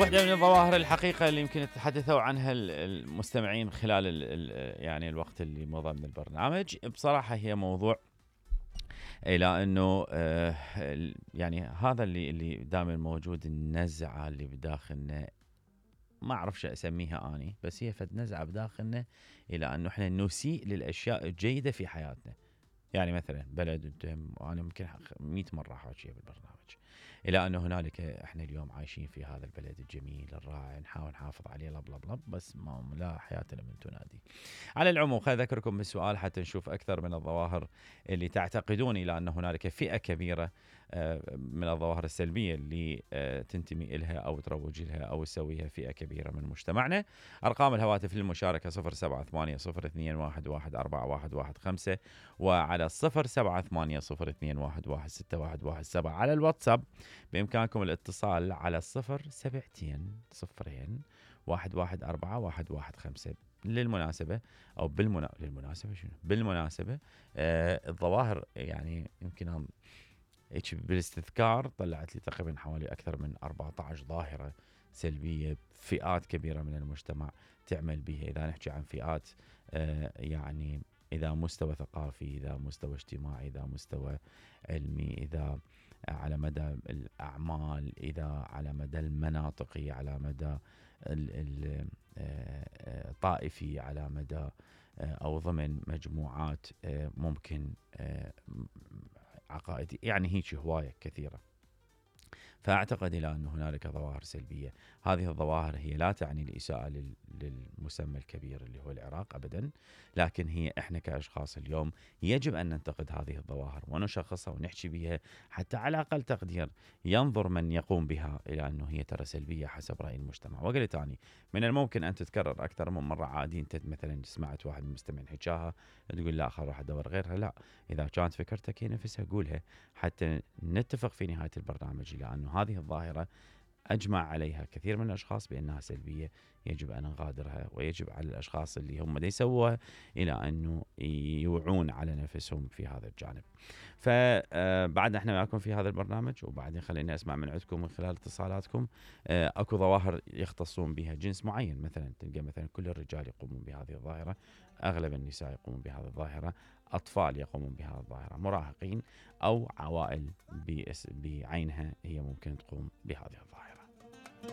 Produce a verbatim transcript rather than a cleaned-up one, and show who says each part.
Speaker 1: واحدة من الظواهر الحقيقة اللي يمكن تحدثوا عنها المستمعين خلال ال ال يعني الوقت اللي مضى من البرنامج، بصراحة هي موضوع إلى أنه آه يعني هذا اللي اللي دائما موجود، النزعة اللي بداخلنا، ما أعرف شو أسميها أني، بس هي فد نزعة بداخلنا إلى أنه إحنا نسيء للأشياء الجيدة في حياتنا. يعني مثلا بلد، أنا ممكن مئة مرة حاجية بالبرنامج، إلى أنه هنالك إحنا اليوم عايشين في هذا البلد الجميل الرائع، نحاول نحافظ عليه لب لب لب، بس ما لا حياة لمن تنادي. على العموم خليني أذكركم بالسؤال حتى نشوف أكثر من الظواهر اللي تعتقدون إلى أن هنالك فئة كبيرة من الظواهر السلبية اللي تنتمي إلها أو تروج لها أو تسويها فئة كبيرة من مجتمعنا. أرقام الهواتف للمشاركة صفر سبعة ثمانية صفر اثنين واحد واحد أربعة واحد واحد خمسة، وعلى صفر سبعة ثمانية صفر اثنين واحد واحد ستة واحد واحد سبعة. على الواتساب بإمكانكم الاتصال على صفر سبعتين صفرين واحد واحد أربعة واحد واحد خمسة. للمناسبة أو بالمنا... للمناسبة شنو؟ بالمناسبة آه الظواهر يعني يمكن بالاستذكار طلعت لي تقريبا حوالي أكثر من أربعة عشر ظاهرة سلبية، فئات كبيرة من المجتمع تعمل بها. إذا نحكي عن فئات آه يعني إذا مستوى ثقافي، إذا مستوى اجتماعي، إذا مستوى علمي، إذا على مدى الأعمال، إذا على مدى المناطقي، على مدى الطائفي، على مدى أو ضمن مجموعات ممكن عقائدي، يعني هيك هواية كثيرة. فأعتقد إلى أن هنالك ظواهر سلبية. هذه الظواهر هي لا تعني الإساءة للمسمى الكبير اللي هو العراق أبدا، لكن هي إحنا كأشخاص اليوم يجب أن ننتقد هذه الظواهر ونشخصها ونحكي بها، حتى على أقل تقدير ينظر من يقوم بها إلى أنه هي ترى سلبية حسب رأي المجتمع. وقلت أني من الممكن أن تتكرر أكثر من مرة. عادي أنت مثلا سمعت واحد من المستمعين حكاها تقول لا خل راح أدور غيرها، لا، إذا كانت فكرتك هي نفسها قولها حتى نتفق في نهاية البرنامج إلى أنه هذه الظاهرة أجمع عليها كثير من الأشخاص بأنها سلبية، يجب أن نغادرها، ويجب على الأشخاص اللي هم دي يسووها إلى أنه يوعون على نفسهم في هذا الجانب. فبعد احنا معكم في هذا البرنامج، وبعدين خليني أسمع من عندكم من خلال اتصالاتكم. أكو ظواهر يختصون بها جنس معين، مثلا تلقى مثلا كل الرجال يقومون بهذه الظاهرة، أغلب النساء يقومون بهذه الظاهرة، أطفال يقومون بهذه الظاهرة، مراهقين أو عوائل بعينها هي ممكن تقوم بهذه الظاهرة.